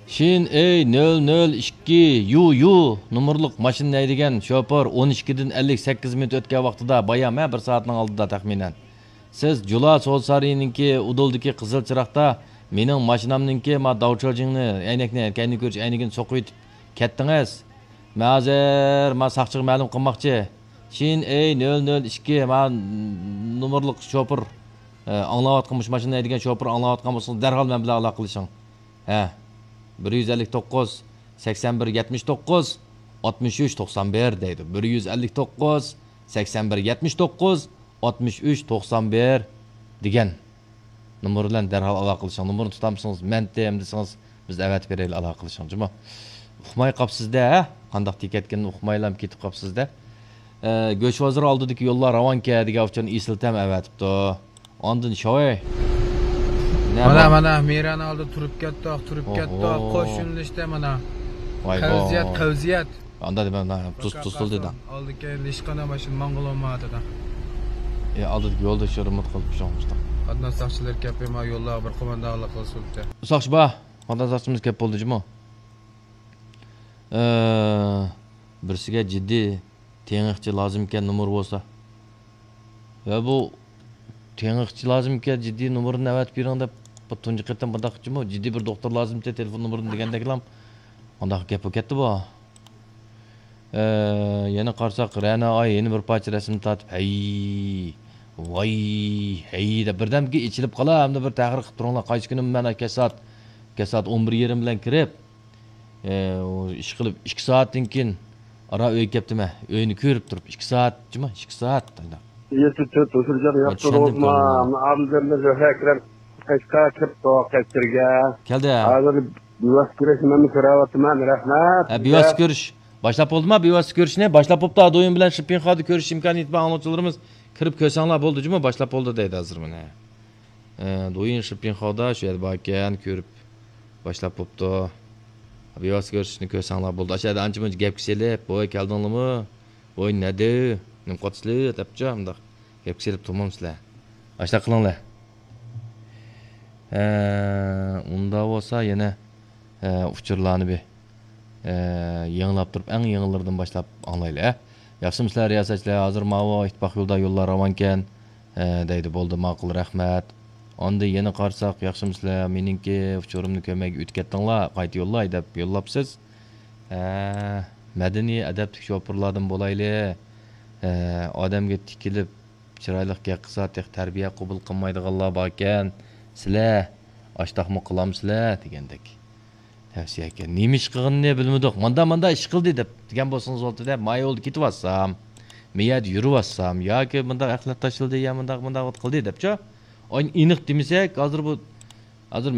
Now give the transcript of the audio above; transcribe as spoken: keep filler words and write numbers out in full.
شىن ئېي نۆل نۆل ئىككى يۇ يۇ نومۇرلۇق ماشىنىنى ھەيدىگەن شوپۇر ئون ئىككىدىن ئەللىك سەككىز مىنۇت ئۆتكەن ۋاقتىدا، بايام ھە، بىر سائەتنىڭ ئالدىدا تەخمىنەن، سىز جۇلا سودا سارىيىنىڭكى ئۇدۇلدىكى قىزىل چىراغدا مېنىڭ ماشىنامنىڭكى ما داۋچاۋجىڭنى، ئەينەكنى، كەينىگە كۆرۈش ئەينىكىنى سوقۇۋېتىپ كەتتىڭىز. مەن ھازىر ما ساقچىغا مەلۇم قىلماقچى. شىن ئېي نۆل نۆل ئىككى، ما نومۇرلۇق شوپۇر، ئاڭلاۋاتقان، مۇشۇ ماشىنىنى ھەيدىگەن شوپۇر ئاڭلاۋاتقان بولسىڭىز، دەرھال مەن بىلەن ئالاقىلىشىڭ. ھە، بىر يۈز ئەللىك توققۇز، سەكسەن بىر، يەتمىش توققۇز، ئاتمىش ئۈچ، توقسان بىر دەيدۇ. بىر يۈز ئەللىك توققۇز، سەكسەن بىر، يەتمىش توققۇز، ئاتمىش ئۈچ، توقسان بىر دېگەن نومۇر بىلەن دەرھال ئالاقىلىشىڭ. نومۇرنى تۇتالمىسىڭىز، مەن تېم دېسىڭىز، بىز ئەۋەتىپ بېرەيلى، ئالاقىلىشىڭ جۇمۇ. ئۇقماي قاپسىز-دە، ھە؟ قانداق دېيىپ كەتكىنىنى ئۇقمايلا كېتىپ قاپسىز-دە. ئە، گۆش بازىرى ئالدىدىكى يوللار راۋانكەن دېگەن ئۇچۇرنى ئېسىل تەم ئەۋەتىپتۇ. ئاندىن شاۋەي. نە مانا، بار؟ مانا، مىران ئالدى تۇرۇپ كەتتۇق، تۇرۇپ كەتتۇق. ئوھو. قوش يۆنىلىشتە مانا. ۋاي قەۋزىيەت، بو. قەۋزىيەت. ئاندا دېمە، مانا، تۇز، تۇز تۇلدى دا. ئالدى كەينى ھېچقانداق ماشىنا ماڭغىلى بولمايدۇ دا. ئە، ئالدىدىكى يولدىشى رېمونت قىلىپ شۇڭغۇشتا. قاتناش ساقچىلىرى كەپ، ما يوللارغا بىر قوماندانلىق قىلسۇن دە. ساقچى بار. قاتناش ساقچىمىز كەپ بولدى جۇمۇ. ئە، بىرسىگە جىددىي تېڭىقچى لازىمكەن، نومۇر بولسا. ۋە بۇ تېڭىقچى لازىمكەن، جىددىي نومۇرىنى ئەۋەتىپ بېرىڭ دەپ، بۇ تۇنجى قېتىم بۇنداق قىلىپچىمۇ، جىددىي بىر دوختۇر لازىمكەن، تېلېفون نومۇرىنى دېگەندەكلا، مۇنداق گەپ بولۇپ كەتتى بۇ. ئە، يەنە قارىساق، رەنا ئاي يەنە بىر پارچە رەسىمنى تارتىپ، ھەي، ۋاي، ھەي دەپ بىردەمگە ئېچىلىپ قالا، ھەمدە بىر تەھرىر قىلىپ تۇرۇڭلار، قايسى كۈنى مەن كەچ سائەت، كەچ سائەت ئون بىر يېرىم بىلەن كىرىپ، ئە، ئۇ ئىش قىلىپ، ئىككى سائەتتىن كېيىن ئارا ئۆيگە كەپتىمەن. ئۆينى كۆرۈپ تۇرۇپ، ئىككى سائەت، جۇمۇ، ئىككى سائەت. يېتىپ تۆت ئۇچۇرجان ھە، ياپتۇ چۈشەندىم، بولسىما، چۈشەندىم. ئابدۇللا زۆھرە ئەكرەم قەشقەر كىرىپتۇ قەشقەرگە. كەلدى، ھە. ھازىر بىۋاسىتە كۆرۈشنى مەنمۇ كۆرۈۋاتىمەن، رەھمەت. ھە، بىۋاسىتە كۆرۈش. باشلاپ بولدىما بىۋاسىتە كۆرۈشنى؟ باشلاپ بوپتۇ، دويۇن بىلەن شىپپىنخادا كۆرۈش ئىمكانىيىتى بار ئاڭلىغۇچىلىرىمىز كىرىپ كۆرسەڭلار بولدى، جۇمۇ، باشلاپ بولدى دەيدۇ ھازىر مانا. ئە، دويىن شىپپىنخاۋدا شۇ يەردە باركەن، كۆرۈپ باشلاپ بوپتۇ. بىۋاسىتە كۆرۈشۈشنى كۆرسەڭلار بولدى. ئاشۇ يەردە ئانچە-مۇنچە گەپ سېلىپ، بوي، كەلدىڭلىمۇ؟ بوي، نەدە؟ نېمە قىلىۋاتىسىلەر؟ دەپچۇ، مۇنداق گەپ سېلىپ تۇرمامسىلەر؟ ئاشۇنداق قىلىڭلار. ئە، ئۇنداق بولسا يەنە، ئە، ئۇچۇرلارنى بىر ئە، يېڭىلاپ تۇرۇپ، ئەڭ يېڭىلىرىدىن باشلاپ ئاڭلايلى، ئە. ياخشىمۇسىلەر، رىياسەتچىلەر؟ ھازىر ماۋۇ ئىتتىپاق يولىدا يوللار راۋانكەن، ئە، دەيدۇ. بولدى، ماقۇل، رەھمەت. ئاندىن يەنە قارىساق، ياخشىمۇسىلەر؟ مېنىڭكى ئۇچۇرۇمنى كۆرمەي ئۆتۈپ كەتتىڭلار، قايتا يوللاي دەپ يوللاپسىز. ئە، مەدەنىي، ئەدەپلىك شوپۇرلاردىن بولايلى. ئە، ئادەمگە تىكىلىپ، چىرايلىق گەپ قىلسا، تېخى تەربىيە قوبۇل قىلمايدىغانلار باركەن. سىلەر ئاشتاقمۇ قىلامسىلەر دېگەندەك. تەۋسىيە ئىكەن. نېمە ئىش قىلغىنىنى بىلمىدۇق. ماندا، ماندا ئىش قىلدى دەپ دېگەن بولسىڭىز بولدى دە، ما يولدا كېتىۋاتسام، ما يەردە يۈرۈۋاتسام ياكى مۇنداق ئەخلەت تاشلىدى يا مۇنداق، مۇنداق قىلدى دەپچۇ. ئېنىق دېمىسەك، ھازىر بۇ، ھازىر